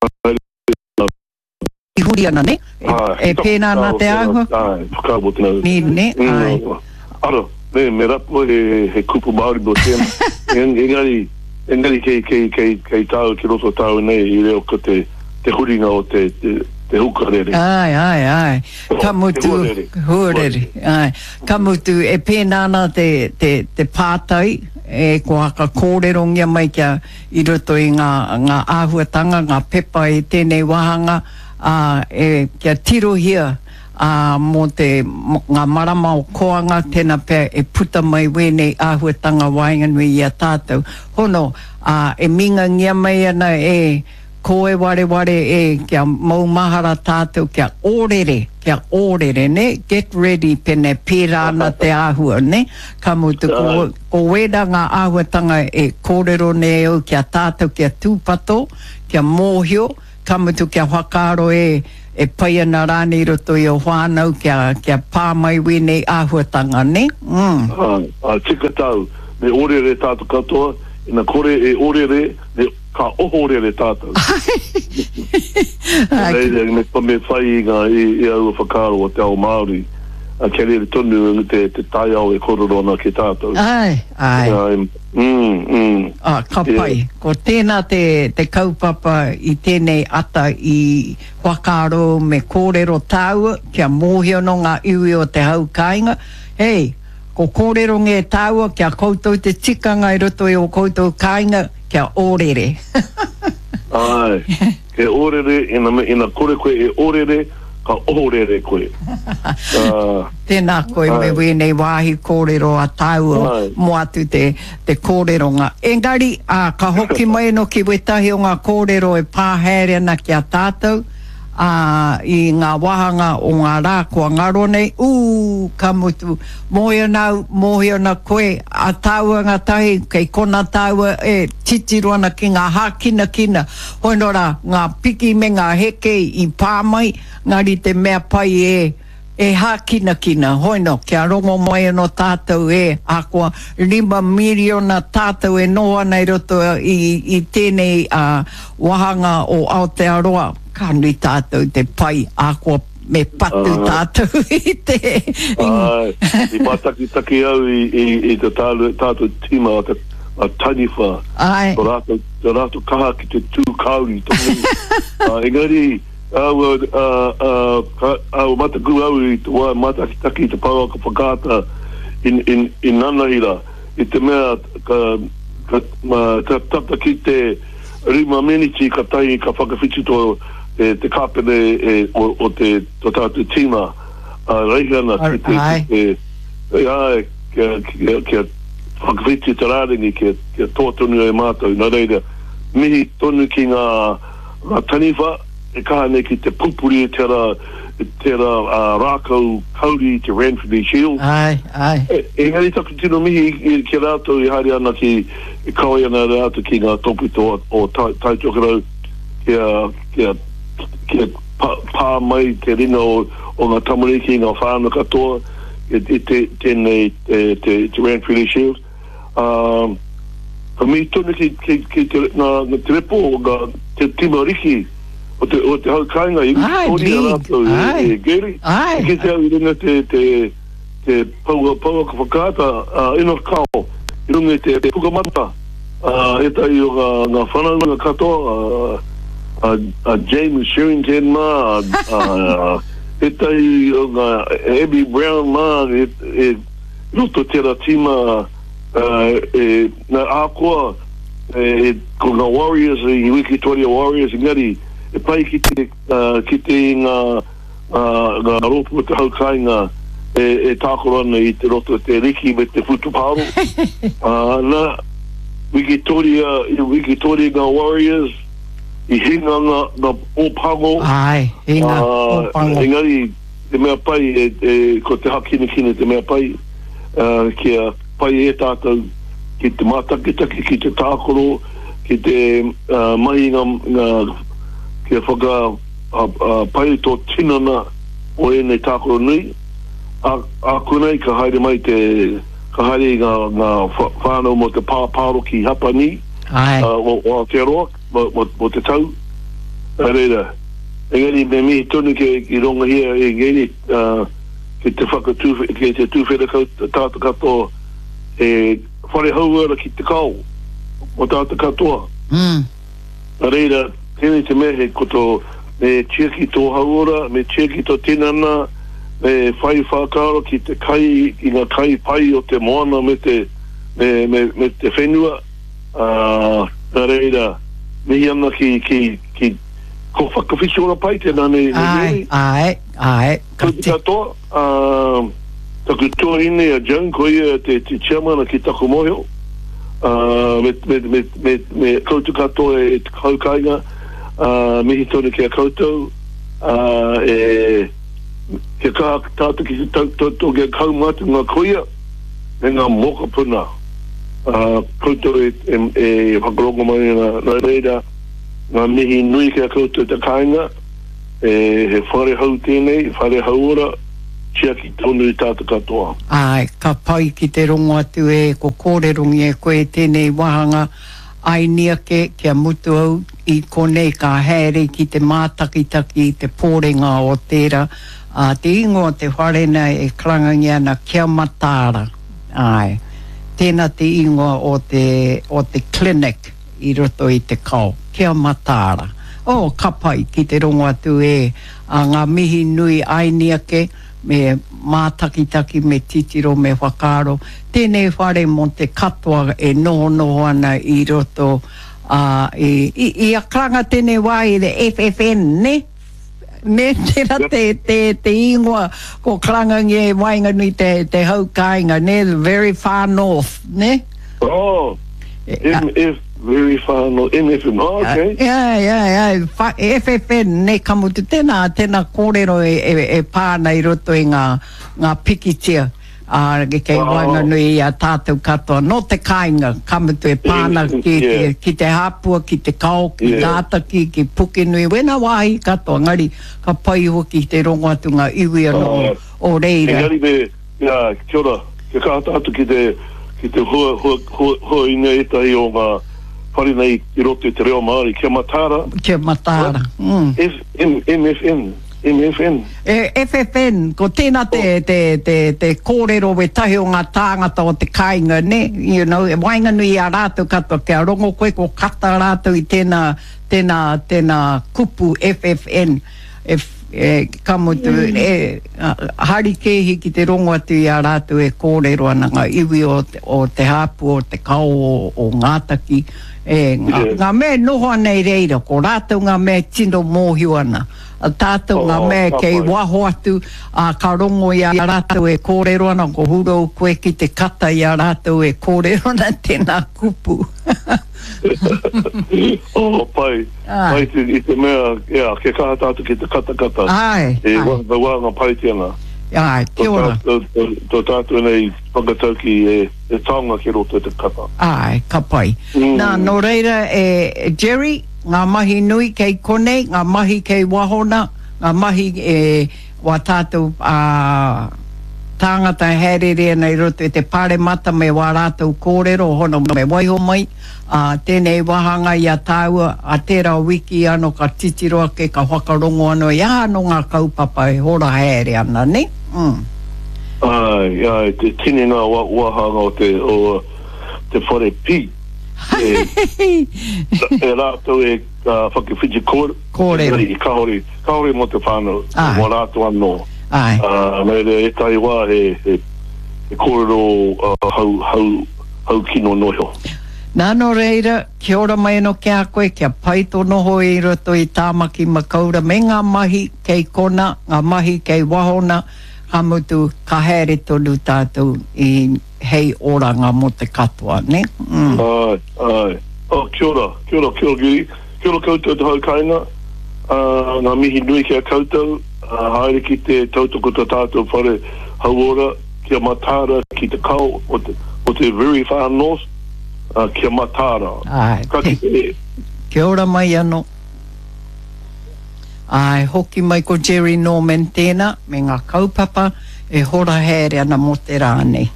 Haere I huri ana, ne? E pēnā ana te āhua? Āe, whakaaro tēnā. Nē, nē, āe. Ara, nē, me rapu he, he kupu Māori mō tēnā. Engari, engari kei, kei, kei, kei tāu, ki roto tāu nei i reo ko te, te huringa o te, te, te hukarere. Āe, āe, āe. Ka mutu, Te huarere. Huarere, āe. Ka mutu, e pēnā ana te, te, te pātai, e kua whakakōrerongia mai kia, i roto i ngā, ngā āhuatanga, ngā pepa i tēnei wāhanga, ā, e, kia tirohia, ā, mō te, mō ngā marama o Koanga, tēnā pea e puta mai wēnei āhuatanga waenganui i a tātou. Hono, ā, e mingangia mai ana e, Ko e wareware e, kia maumahara tātou, kia ōrere, kia ōrere, nē, get ready pēnei, pērā ana te āhua, nē? Ka mutu, ko, ko wērā ngā āhuatanga e kōrero nei au ki a tātou kia tūpato, kia mōhio, ka mutu kia whakaaro e, e pai ana rānei i roto i ō whānau kia, kia pā mai wēnei āhuatanga, nē? Mm. Āe, āe, tika tāu, me ōrere tātou katoa, ina kore e ōrere, me. Ka ohorere tātou. Nō reira, me, me whai i ngā, i, i aua whakaaro o te ao Māori, kia rere tonu te, te taiao e kōrero ana ki tātou. Āe, āe. Āe, mm, mm. Ah, ka pai. Ko tēnā te, te kaupapa i tēnei ata i whakaaro me kōrero tāua kia mōhio nō ngā iwi o te hau kāinga, hei, ko kōrerongia e tāua kia koutou te tikanga i roto i ō koutou kāinga, Kia ōrere. Āe, he ōrere, ina, ina kore koe e ōrere, ka ohorere koe. Uh, Tēnā koe me wēnei wāhi kōrero a tāua mō atu te, te kōreronga. Engari, ā, ka hoki mai anō ki wētahi o ngā kōrero e pā haere ana ki a tātou, ā, i ngā wāhanga o ngā rā kua ngaro nei, ū, ka mutu, mōhio ana au, mōhio ana koe, a tāua ngātahi, kei konā tāua e titiro ana ki ngā hākinakina, hoi nō rā, ngā piki me ngā heke i pā mai, engari te mea pai e, e hākinakina, hoi nō, kia rongo mai anō tātou e, ahakoa 5 miriona tātou e noho ana i roto i, i tēnei ā, wāhanga o Aotearoa, ka nui tātou te pai, ahakoa me patu tātou i te... Āe, i mātakitaki au i, i, i te tātou tīma a te a Taniwha. Āe. Ko rātou, ko rātou kaha ki te tū kāuri tonu. Engari, Aua, ā, ā, ka, ā, mataku au i te wā mātakitaki i te pouaka whakaata in, in, in nanahira, i te mea ka, ka, ma, ka tata ki te rima meniti katahi ka whakawhiti tō, te, te kāpene e, o, o te, tō tātou tīma, a Reihana ki te, ki te, āe, kia, kia, kia whakawhiti te rārangi, kia, kia toa tonu ai mātou. Nā reira, mihi tonu ki ngā, Ngā taniwha e kaha nei ki te pupuri i tera, tera rākau kauri i te Ranfurly Shield. Āe, āe. Engari taku tino mihi ki a rātou e haere ana ki, e kawe ana rātou ki ngā tōpito o Tai Tokerau kia, kia, kia pā mai te ringa o, o ngā tamariki, ngā whānau katoa i, i te, tēnei, te, te, te Ranfurly Shield. Ā, ka mihi tonu ki, ki, ki te, ngā, ngā te repo, ngā, te tima riki o te, o te hau kāinga i wikitoria rātou e, e Gary. Ai. I kite au i runga te, te, te paua, pouaka whakaata, a Enoch Kao, i runga i te pukamata, ā, ētahi o ngā, ngā whanaunga katoa, a, a, a James Sherrington mā, a, a, ētahi o ngā Abby Brown mā, e, e, roto tera tima e na ahakoa e ko nga Warriors i Wikitoria Warriors engari e pai ki te kite i nga nga rōpū o te hau kāinga e tākaro ana i te roto te riki me te whutupaoro na Wikitoria i Wikitoria nga Warriors i hinga nga nga Ōpango Āe, hinga Ōpango. Engari Te mea pai, ko te hakinakina te mea pai, kia pai e tātou ki te mātakitaki, ki te tākaro, ki te mahi ngā, kia whakapai tō tinana o ēnei tākaro nui. Ākonei ka haere mai te, ka haere i ngā whānau mō te pāpāro ki Hapani o Aotearoa mō te tau. Nā reira, engari me mihi tonu ki, ki rongohia e Ngeri, ā, ki te whakatū, ki te tūwhera kau tātou katoa, he whare hauora ki te kao mō tātou katoa. Mm. Nā reira, tēnei te mea he ko tō, me tiaki tō hauora, me tiaki tō tinana, me whai whakaaro ki te kai, ki ngā kai pai o te moana me te, me, me, me te whenua. Ā, nā reira, mihi ana ki, ki, ki, ko Whakawhiti Ora Pai tēnā nei, nei Āe, Mary. āe, āe, ka Koutou tika. katoa, ā, taku tuahine a Joan, ko ia te, te chairman ki taku mōhio, ā, me, me, me, me, me koutou katoa e te hau kāinga, ā, mihi tonu ki a koutou, ā, e, kia kaha tātou ki te tautoko kia kaumātua ngā kuia me ngā mokopuna. Ā, koutou e, e, e whakarongo mai ana, nā reira, ngā mihi nui ki a koutou te kāinga, e, he whare hou tēnei, whare hauora, tiaki tonu i tātou katoa. Āe, ka pai ki te rongo atu e, ko kōrerongia e koe tēnei wāhanga, aini ake kia mutu au i konei ka haere ki te mātakitaki i te pōrenga o tērā, ā, te ingoa o te whare nei e karangangia ana Kia Mataara. Āe. Tēnā te ingoa o te, o te clinic i roto i te kao. Kia mataara. Oh, ka pai ki te rongo atu e, a ngā mihi nui aini ake, me mātakitaki, me titiro, me whakaaro. Tēnei whare mō te katoa e nohonoho ana i roto, ā, i, i, i a karanga tēnei wā i te FFN, nē? Me tera te, te, te ingoa ko Karangangia i waenganui te, te hau kāinga, ne? The very far north, ne? Oh, MF, very far north, MFN, oh, okay. Yeah, yeah, yeah, fa, FFN, ne, ka mutu, tēnā, tēnā kōrero e, e, e pā ana i roto i ngā, ngā pikitia. Ā, kei waenganui i a tātou katoa, nō te kāinga, ka mutu e pā ana ki, ki te Hāpua, ki te Kao, ki Ngātaki, ki Pukenui, wēnā wāhi katoa, engari ka pai hoki te rongo atu ngā iwi anō o reira. Engari me, ia, kia ora, kia kaha tātou ki te, ki te hua, hua, hua, huainga ētahi o ngā whare nei i roto i te reo Māori, kia mataara. Kia mataara, mm. F, M, MFN. MFN. E, FFN, ko tēnā te, te, te, te kōrero wētahi o ngā tāngata o te kāinga, nē, you know, e waenganui i a rātou katoa, kia rongo koe ko kata rātou i tēnā, tēnā, tēnā kupu FFN, e, e, ka mutu, e, harikēhi ki te rongo atu i a rātou e kōrero ana ngā iwi o, o Te Hāpua, o Te Kao, o, o Ngātaki, e, ngā, ngā mea e noho ana i reira, ko rātou ngā mea e tino mōhio ana. Tātou ngā mea kei waho atu, ā, ka rongo i a rātou e kōrero ana, ko hurou koe ki te kata i a rātou e kōrero ana tēnā kupu. Oh, pai. Pai te, i te mea, yeah, kia kaha tātou ki te katakata. Āe, āe. E wāhanga pai tēnā. Āe, kia ora. Tō tātou nei whakatauki e, e taonga ki roto i te kata. Āe, ka pai. Nā, nō reira, e Jerry, Ngā mahi nui kei konei, ngā mahi kei waho na, ngā mahi e wā tātou tāngata e haereere ana i roto i te Pāremata me wā rātou kōrero hono me waiho mai, ā, tēnei wāhanga i a tāua, ā tērā wiki anō ka titiro ake, ka whakarongo anō i aha anō ngā kaupapa e hora haere ana, nē? Mm. Āe, āe, te tini ngā wāhanga o te, o te whare pī. E rātou e whakawhiti kōrero, engari kāore, kāore mō te whānau, mō rātou anō. Nā reira, ētahi wā he, he, he kōrero hau, hau, hau kino noa iho. Nā, nō reira, kia ora mai anō ki a koe, kia pai tō noho i roto i Tāmaki Makaura me ngā mahi kei kona, ngā mahi kei waho nā, ka mutu, ka haere tonu tātou i hei oranga mō te katoa, nē? Mm. Āe, āe. Oh, kia ora, kia ora, kia ora, Guri. Kia ora koutou te hau kāinga. Uh, ngā mihi nui ki a koutou. Uh, haere ki te tautoko tō tātou whare hauora, kia mataara ki te kao o te, o te very far north, uh, kia mataara. Āe. Ka kite e. Kia ora mai anō. Āe, hoki mai ko Jerry Norman tēnā, me ngā kaupapa e hora haere ana mō te rā nei.